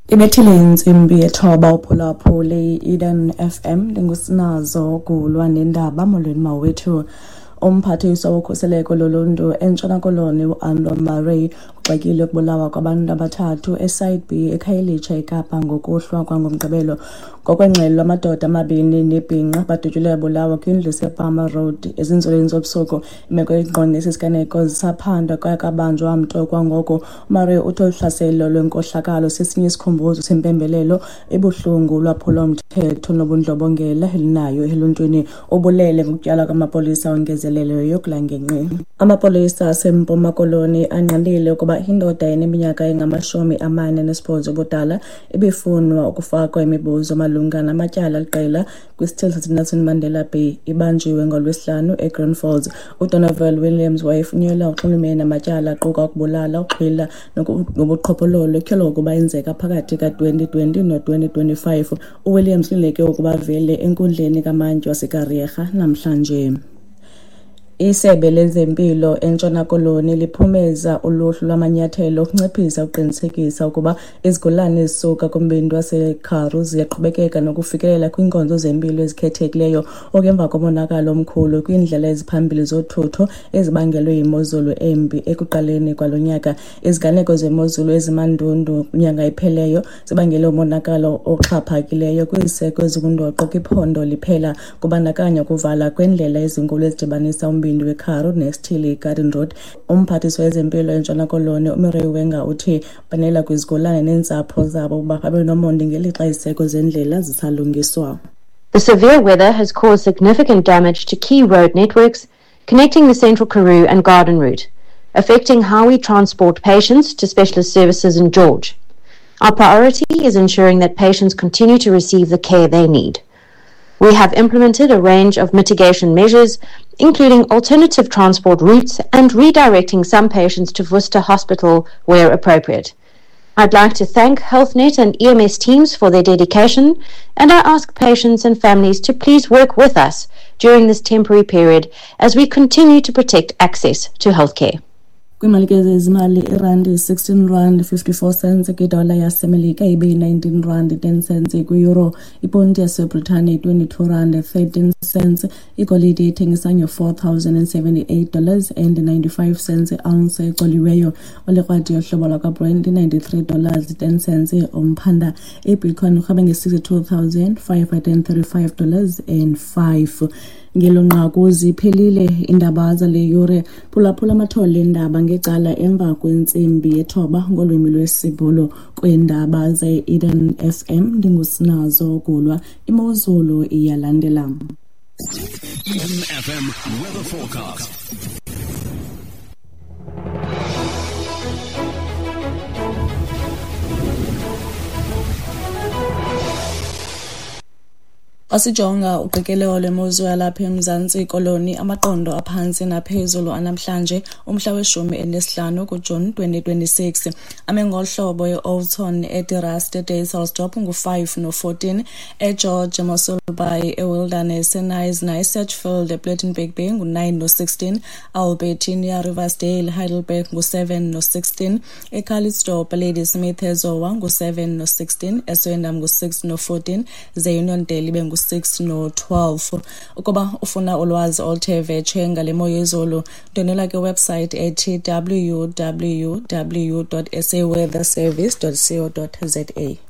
Ibethile intsimbi yethoba uphulaphule i-Eden FM, ndingusinazo Gulwa nendaba. Molweni mawethu. Umphathiswa wokhuseleko loluntu eNtshona Koloni uAndre Murray ugxekile ukubulawa kwabantu abathathu eSite B eKhayelitsha eKapa ngokuhlwa kwangoMgqibelo. Ngokwengxelo, amadoda amabini nebhinqa badutyulwe babulawa kwindlu esePalmer Road ezinzulwini zobusuku. Imeko engqonge esi siganeko zisaphandwa kwaye akabanjwa mntu kwangoko. UMurray uthi olu hlaselo lwenkohlakalo sesinye isikhumbuzo sempembelelo ebuhlungu ulwaphulo-mthetho nobundlobongela elinayo eluntwini. Ubulele ngokutyalwa kwamapolisa ongezelelweyo kula ngingqi. Amapolisa aseMpuma Koloni angqinile ukuba indoda eneminyaka engama-48 ubudala ibifunwa ukufakwa imibuzo malunga namatyala aliqela kwisithili saseNelson Mandela Bay ibanjiwe ngoLwesihlanu eGreen Falls. UDonovan Williams wayefunyenwe unxulumene namatyala aquka ukubulala, ukuxhwila nobuqhophololo etyholwa ukuba enzeka phakathi ka-2020 no-2025. UWilliams ulindeleke ukuba avele enkundleni kamantyi waseKariega namhlanje. Isebe lezempilo eNtshona Koloni liphumeza uluhlu lwamanyathelo okunciphisa ukuqinisekisa ukuba izigulane ezisuka kumbindi waseKharu ziyaqhubekeka nokufikelela kwiinkonzo zempilo ezikhethekileyo, oku emva komonakalo omkhulu kwiindlela eziphambili zothutho ezibangelwe yimozulu embi ekuqaleni kwalo nyaka. Iziganeko zemozulu ezimandundu kwinyanga epheleyo zibangele umonakalo oxhaphakileyo kwiziseko ezingundoqo kwiphondo liphela, kubandakanya ukuvala kweendlela ezinkulu ezidibanisa umbindi weKharu nesithili iGarden Road. Umphathiswa wezempilo eNtshona Koloni uMireille Wenger uthi banela kwizigulane neentsapho zabo ukuba babe nomonde ngelixa iziseko zendlela zisalungiswa. The severe weather has caused significant damage to key road networks connecting the Central Karoo and Garden Route, affecting how we transport patients to specialist services in George. Our priority is ensuring that patients continue to receive the care they need. We have implemented a range of mitigation measures, including alternative transport routes and redirecting some patients to Worcester Hospital where appropriate. I'd like to thank HealthNet and EMS teams for their dedication, and I ask patients and families to please work with us during this temporary period as we continue to protect access to healthcare. Kwiimali ke zezimali, irandi 16 rand 54 cents kwidola yaseMelika, ibe yi-19 rand 10 cents kwiyuro. Iponti yaseBritane 22 rand 13 cents. Igolide ithengisa nge-$4,078 and 95 cents i-ounce ecoliweyo. Olikrwadi yohlobo lwakwaBrent $93 10 cents umphanda. Ibitcoin irhweba nge-$62,535 and 5. Ngelo nqaku ziphelile iindaba zale yure. Phulaphula amathole eendaba ngecala emva kwentsimbi yethoba ngolwimi lwesiBhulu. Kwiindaba ze-Eden FM ndingusinazo Gulwa. Imozulu iyalandela. Eden FM weather forecast. Xa sijonga uqikelelo lwemozulu yalapha eMzantsi Koloni, amaqondo aphantsi naphezulu anamhlanje umhla we-15 kuJuni 2026 ame ngolu hlobo: eOudtshoorn, eDe Rust, eDysselsdorp ngu-5 no-14, eGeorge, eMossel Bay, eWilderness, eKnysna, eSedgefield, ePlettenberg Bay ngu-9 no-16, Albertinia, Riversdale, Heidelberg ngu-7 no-16, eCalitzdorp, Ladysmith, eZowa ngu-7 no-16, eSwellendam ngu-6 no-14, ze Uniondale ibe ngu-6 no-12. Ukuba ufuna ulwazi oluthe vetshe ngale mo yezulu, ndwendwela kwiwebsite ethi www.saweatherservice.co.za.